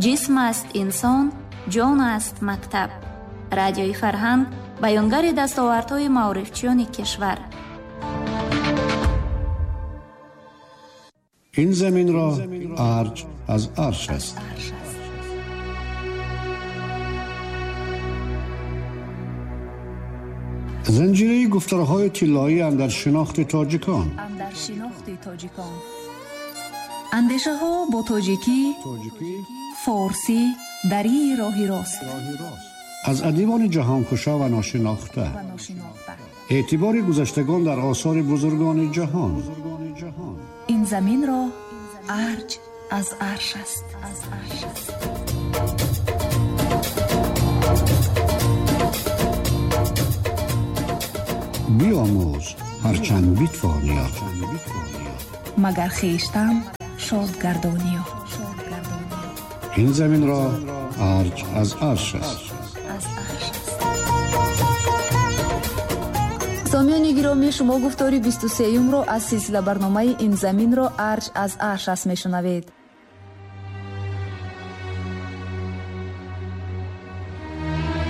Ҷисм аст инсон, ҷон аст мактаб. Радиои Фарҳанг баёнгари дастовардҳои маорифчиёни кишвар. Ин заминро арҷ аз арш аст. Занҷираи гуфторҳои тиллоӣ андар шинохти тоҷикон. Андешаҳо бо тоҷикӣ, форсӣ, дарии роҳи рост. Аз адибони ҷаҳонкушо ва ношинохта. Эътибори гузаштагон дар осори бузургони ҷаҳон. Ин заминро арҷ аз арш аст. Биомӯз ҳарчанд битвониё, магар хештан шод гардониё. Ин заминро арҷ аз арш аст. Сомиёни гиромӣ, шумо гуфтори 23-юмро аз силсила барномаи Ин заминро арҷ аз арш аст мешунавед.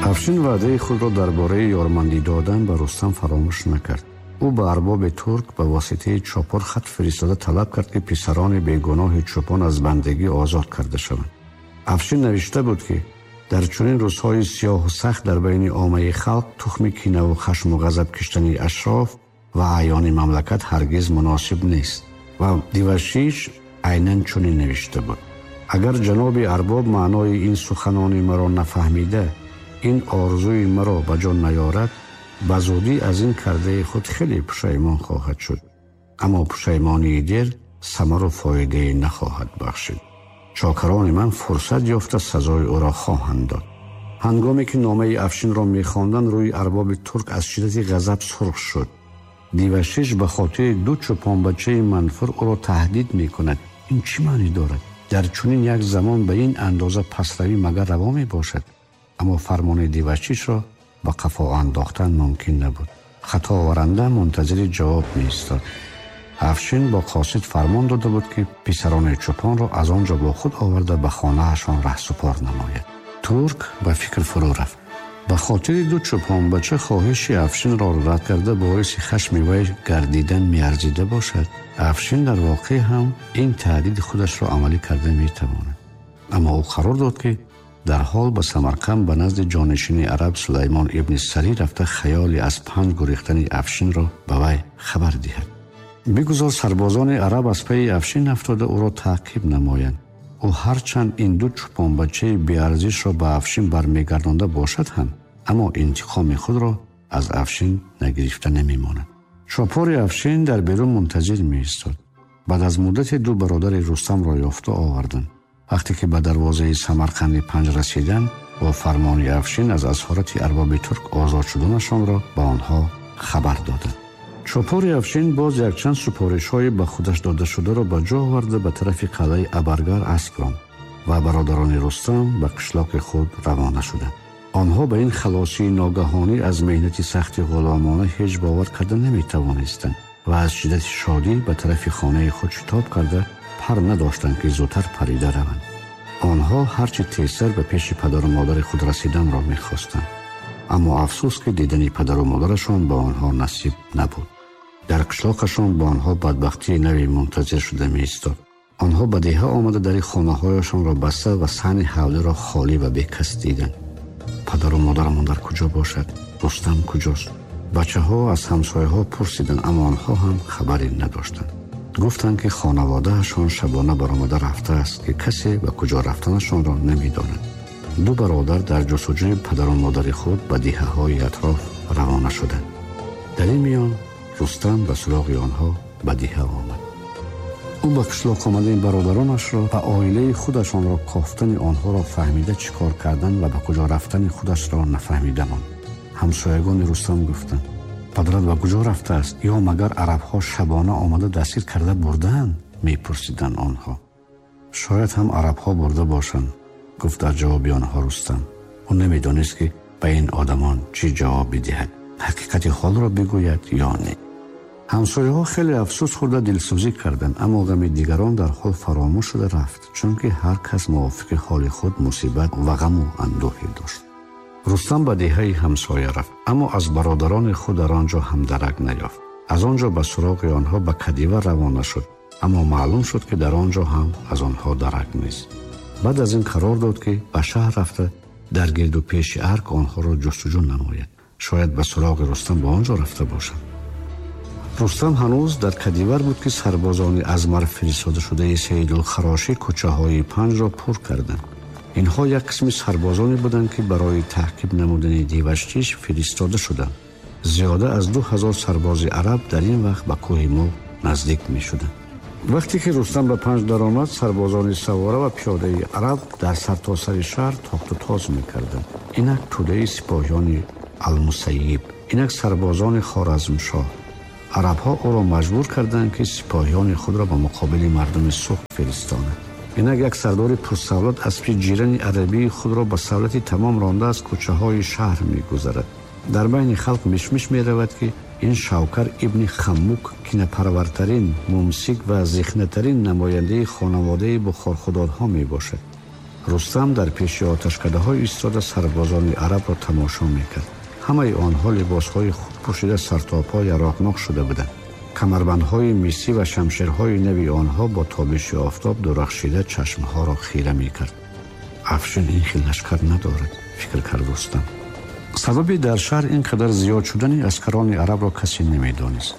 Афшин ваъдаи худро дар бораи ёрмандӣ додан ба Рустам фаромӯш накард. Ӯ ба арбоби турк ба воситаи чопор хат фиристода талаб кард, ки писарони бегуноҳи чӯпон аз бандагӣ озод карда шаванд. Афшин навишта буд, ки дар чунин рӯзҳои сиёҳу сахт дар байни оммаи халқ тухми кинаву хашму ғазаб киштани ашроф ва аъёни мамлакат ҳаргиз муносиб нест. Ва Дивашиш айнан чунин навишта буд: агар ҷаноби арбоб маънои ин суханони маро нафаҳмида, ин орзуи маро ба ҷон наёрад, ба зудӣ аз ин кардаи худ хеле пушаймон хоҳад шуд. Аммо пушаймонии дер самару фоидае нахоҳад бахшид. Чокарони ман фурсат ёфта сазои ӯро хоҳанд дод. Ҳангоме ки номаи Афшинро мехонданд, рӯи арбоби турк аз шиддати ғазаб сурх шуд. Дивашиш ба хотири ду чӯпонбачаи манфур ӯро таҳдид мекунад. Ин чӣ маънӣ дорад? Дар чунин як замон ба ин андоза пасравӣ магар раво мебошад? Аммо фармони Дивашишро ба қафо андохтан мумкин набуд. Хатоваранда мунтазири ҷавоб меистод. Афшин бо қосид фармон дода буд, ки писарони чӯпонро аз он ҷо бо худ оварда ба хонаашон раҳсупор намояд. Турк ба фикр фурӯ рафт. Ба хотири ду чӯпонбача хоҳиши Афшинро рад карда боиси хашми вай гардидан меарзида бошад. Афшин дар воқеъ ҳам ин таҳдиди худашро амалӣ карда метавонад. Аммо ӯ қарор дод, ки дарҳол ба Самарқанд ба назди ҷонишини араб Сулаймон ибни Сарӣ рафта хаёли аз панҷ гурехтани Афшинро ба вай хабар диҳад. Бигузор сарбозони араб аз пайи Афшин афтода ӯро таъқиб намоянд. Ӯ ҳарчанд ин ду чӯпонбачаи беарзишро ба Афшин бармегардонда бошад ҳам, аммо интиқоми худро аз Афшин нагирифта намемонад. Чопори Афшин дар берун мунтазир меистод. Баъд аз муддате ду бародари Рустамро ёфта оварданд. Вақте ки ба дарвозаи Самарқанди панҷ расиданд, бо фармони Афшин аз асорати арбоби турк озод шуданашонро ба онҳо хабар доданд. Чопори Афшин боз якчанд супоришҳои ба худаш додашударо ба ҷо оварда ба тарафи қалъаи Абаргар асп ронд ва бародарони Рустам ба қишлоқи худ равона шуданд. Онҳо ба ин халосии ногаҳонӣ аз меҳнати сахти ғуломона ҳеҷ бовар карда наметавонистанд ва аз шиддати шодӣ ба тарафи хонаи худ шитоб карда пар надоштанд, ки зудтар парида раванд. Онҳо ҳарчи тезтар ба пеши падару модари худ расиданро мехостанд, аммо афсӯс, ки дидани падару модарашон ба онҳо насиб набуд. Дар қишлоқашон ба онҳо бадбахтии нави мунтазир шуда меистод. Онҳо ба деҳа омада дари хонаҳояшонро баста ва саҳни ҳавлиро холӣ ва бекас диданд. Падару модарамон дар куҷо бошад? Рустам куҷост? Бачаҳо аз ҳамсояҳо пурсиданд, аммо онҳо ҳам хабаре надоштанд. Гуфтанд, ки хонаводаашон шабона баромада рафтааст, ки касе ба куҷо рафтанашонро намедонад. Ду бародар дар ҷустуҷӯи падару модари худ ба деҳаҳои атроф равона шуданд. Дар ин миён Рустам ба суроғи онҳо ба деҳа омад. Ӯ ба қишлоқ омадани бародаронашро ва оилаи худашонро кофтани онҳоро фаҳмида чӣ кор кардан ва ба куҷо рафтани худашро нафаҳмида монд. Ҳамсоягони Рустам гуфтанд: падарат ба куҷо рафтааст? Ё магар арабҳо шабона омада дастгир карда бурдаанд? Мепурсиданд онҳо. Шояд ҳам арабҳо бурда бошанд, гуфт дар ҷавоби онҳо Рустам. Ӯ намедонист, ки ба ин одамон чӣ ҷавоб бидиҳад, ҳақиқати ҳолро бигӯяд ё не. Ҳамсояҳо хеле афсӯс хӯрда дилсӯзӣ карданд, аммо ғами дигарон дар ҳол фаромӯш шуда рафт, чунки ҳар кас мувофиқи ҳоли худ мусибат ва ғаму андӯҳе дошт. Рустам ба деҳаи ҳамсоя рафт, аммо аз бародарони худ дар он ҷо ҳам дарак наёфт. Аз он ҷо ба суроғи онҳо ба Кадива равона шуд, аммо маълум шуд, ки дар он ҷо ҳам аз онҳо дарак нест. Баъд аз ин қарор дод, ки ба шаҳр рафта дар гирду пеши арк онҳоро ҷустуҷӯ намояд. Шояд ба суроғи Рустам ба он ҷо рафта бошанд. Рустам ҳанӯз дар Кадивар буд, ки сарбозони аз марв фиристодашудаи Саидулхарошӣ кӯчаҳои Панҷро пур карданд. Инҳо як қисми сарбозоне буданд, ки барои таъқиб намудани Диваштич фиристода шуданд. Зиёда аз 2000 сарбози араб дар ин вақт ба кӯҳи Муғ наздик мешуданд. Вақте ки Рустам ба Панҷ даромад, сарбозони савора ва пиёдаи араб дар сартосари шаҳр тохту тоз мекарданд. Инак тӯдаи сипоҳиёни Алмусайиб, инак сарбозони Хоразмшоҳ. Арабҳо ӯро маҷбур карданд, ки сипоҳиёни худро ба муқобили мардуми Суғд фиристонад. Инак як сардори пурсавлат аспи ҷирани арабии худро ба савлати тамом ронда аз кӯчаҳои шаҳр мегузарад. Дар байни халқ мишмиш меравад, ки ин Шавкар ибни Хаммук кинапарвартарин, мумсик ва зихнатарин намояндаи хонаводаи бухорхудодҳо мебошад. Рустам дар пеши оташкадаҳо истода сарбозони арабро тамошо мекард. Ҳамаи онҳо либосҳои хуб пӯшида сартопо яроқнок шуда буданд. Камарбандҳои мисӣ ва шамшерҳои нави онҳо бо тобиши офтоб дурахшида чашмҳоро хира мекард. Афшин ин хел лашкар надорад, фикр кард Рустам. Сабаби дар шаҳр ин қадар зиёд шудани аскарони арабро касе намедонист.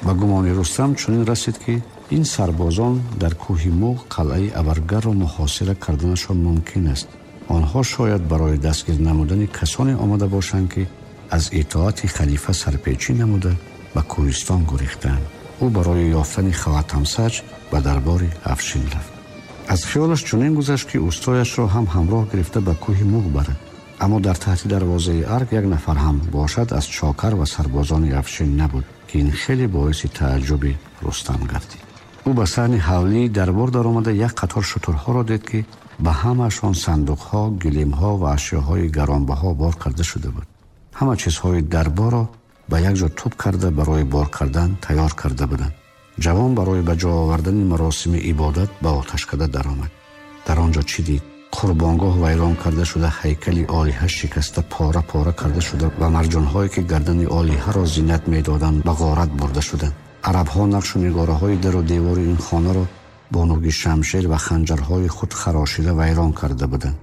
Ба гумони Рустам чунин расид, ки ин сарбозон дар кӯҳи Муғ қалъаи Абаргарро муҳосира карданашон мумкин аст. Онҳо шояд барои дастгир намудани касоне омада бошанд, ки аз итоати халифа сарпечӣ намуда ба кӯҳистон гурехтаанд. Ӯ барои ёфтани Хаватамсаҷ ба дарбори Афшин рафт. Аз хиёлаш чунин гузашт, ки устояшро ҳам ҳамроҳ гирифта ба кӯҳи Муғ барад. Аммо дар таҳти дарвозаи арк як нафар ҳам бошад аз чокар ва сарбозони Афшин набуд, ки ин хеле боиси тааҷҷуби Рустам гардид. Ӯ ба саҳни ҳавлии дарбор даромада як қатор шутурҳоро дид, ки ба ҳамаашон сандуқҳо, гилемҳо ва ашёҳои гаронбаҳо бор карда шуда буд. Ҳама чизҳои дарборро ба як ҷо тӯб карда барои бор кардан тайёр карда буданд. Ҷавон барои ба ҷо овардани маросими ибодат ба оташкада даромад. Дар он ҷо чӣ дид? Қурбонгоҳ вайрон карда шуда, ҳайкали олиҳа шикаста пора-пора карда шуда ва марҷонҳое, ки гардани олиҳаро зинат медоданд, ба ғорат бурда шуданд. Арабҳо нақшу нигораҳои дару девори ин хонаро бо нӯги шамшер ва ханҷарҳои худ харошида вайрон карда буданд.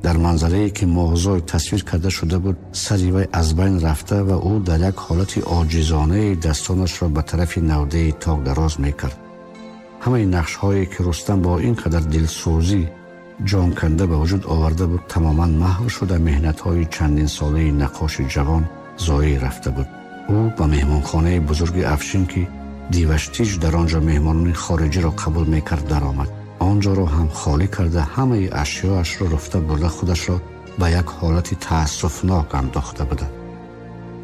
Дар манзарае, ки моҳзой тасвир карда шуда буд, сари вай аз байн рафта ва ӯ дар як ҳолати оҷизонаи дастонашро ба тарафи навдаи ток дароз мекард. Ҳамаи нақшҳое, ки Рустам бо ин қадар дилсӯзӣ ҷонканда ба вуҷуд оварда буд, тамоман маҳв шуда меҳнатҳои чандинсолаи наққоши ҷавон зоеъ рафта буд. Ӯ ба меҳмонхонаи бузурги Афшин, ки Диваштич дар он ҷо меҳмонони хориҷиро қабул мекард, даромад. Он ҷоро ҳам холӣ карда ҳамаи ашёашро руфта бурда худашро ба як ҳолати таассуфнок андохта буданд.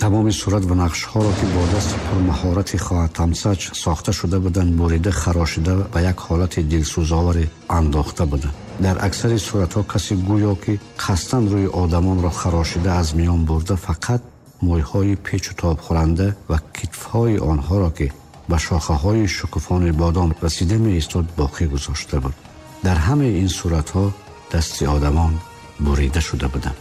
Тамоми сурат ва нақшҳоро, ки бо дасти пурмаҳорати Хоатамсаҷ сохта шуда буданд, бурида харошида ба як ҳолати дилсӯзоваре андохта буданд. Дар аксари суратҳо касе гӯё ки қасдан рӯи одамонро харошида аз миён бурда, фақат мӯйҳои печу тобхӯранда ва китфҳои онҳоро, ки ба шохаҳои шукуфони бодом расида меистод, боқӣ гузошта буд. Дар ҳамаи ин суратҳо дасти одамон бурида шуда буданд.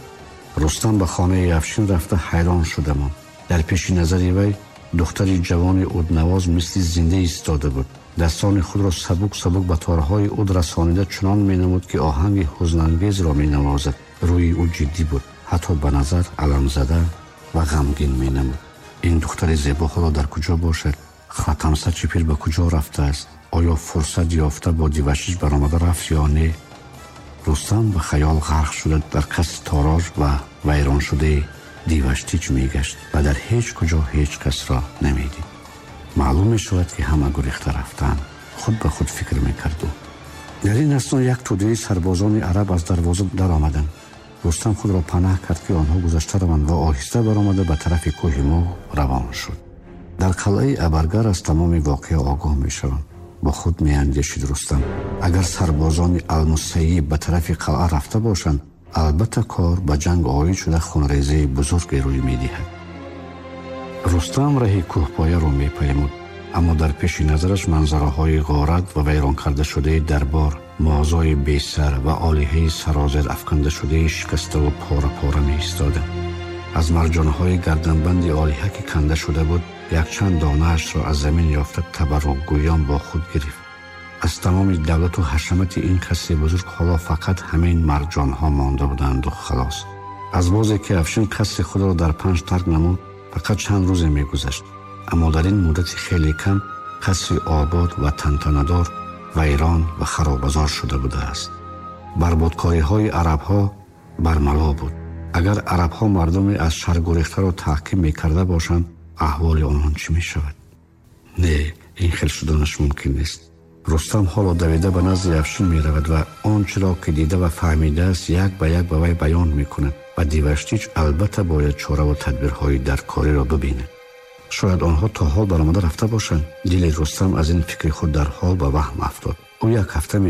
Рустам ба хонаи Афшин рафта ҳайрон шуда монд. Дар пеши назари вай духтари ҷавони уднавоз мисли зинда истода буд. Дастони худро сабук сабук ба торҳои уд расонида чунон менамуд, ки оҳанги ҳузнангезро менавозад. Рӯи ӯ ҷиддӣ буд, ҳатто ба назар аламзада ва ғамгин менамуд. Ин духтари зебо ҳоло дар куҷо бошад? Хатамсачи пир ба куҷо рафтааст? Оё фурсат ёфта бо Диваштич баромада рафт ё не? Рустам ба хаёл ғарқ шуда дар қасри тороҷ ва вайроншудаи Диваштич мегашт ва дар ҳеҷ куҷо ҳеҷ касро намедид. Маълум мешавад, ки ҳама гурехта рафтаанд, худ ба худ фикр мекард ӯ. Дар ин асно як тӯдаи сарбозони араб аз дарвоза даромаданд. Рустам худро панаҳ кард, ки онҳо гузашта раванд ва оҳиста баромада ба тарафи кӯҳи Муғ равон шуд. Дар қалъаи Абаргар аз тамоми воқеа огоҳ мешаванд. Бо худ меандешид Рустам: агар сарбозони Алмусайиб ба тарафи қалъа рафта бошанд, албатта кор ба ҷанг оид шуда хунрезаи бузурге рӯй медиҳад. Рустам раҳи кӯҳпояро мепаймуд. Аммо дар пеши назараш манзараҳои ғорат ва вайрон кардашудаи дарбор, муозои бесар ва олиҳаи сарозер афкандашудаи шикаставу пора-пора меистоданд. Аз марҷонҳои гарданбанди олиҳа, ки канда шуда буд, якчанд донаашро аз замин ёфта, табаррукгӯён бо худ гирифт. Аз тамоми давлату ҳашамати ин қасри бузург ҳоло фақат ҳамин марҷонҳо монда буданду халос. Аз бозе ки Афшин қасри худро дар Панҷ тарк намуд, фақат чанд рӯзе мегузашт, аммо дар ин муддати хеле кам қасри обод ва тантанадор вайрон ва харобазор шуда будааст. Барбодкориҳои арабҳо бармало буд. Агар арабҳо мардуме аз шаҳр гурехтаро таҳким мекарда бошанд, аҳволи онҳо чӣ мешавад? Не, ин хел шуданаш мумкин нест. Рустам ҳоло давида ба назди Афшин меравад ва он чиро ки дида ва фаҳмидааст, як ба як ба вай баён мекунад ва Диваштич албатта бояд чораву тадбирҳои даркориро бибинад. Шояд онҳо то ҳол баромада рафта бошанд. Дили Рустам аз ин фикри худ дарҳол ба ваҳм афтод. Ӯ як ҳафта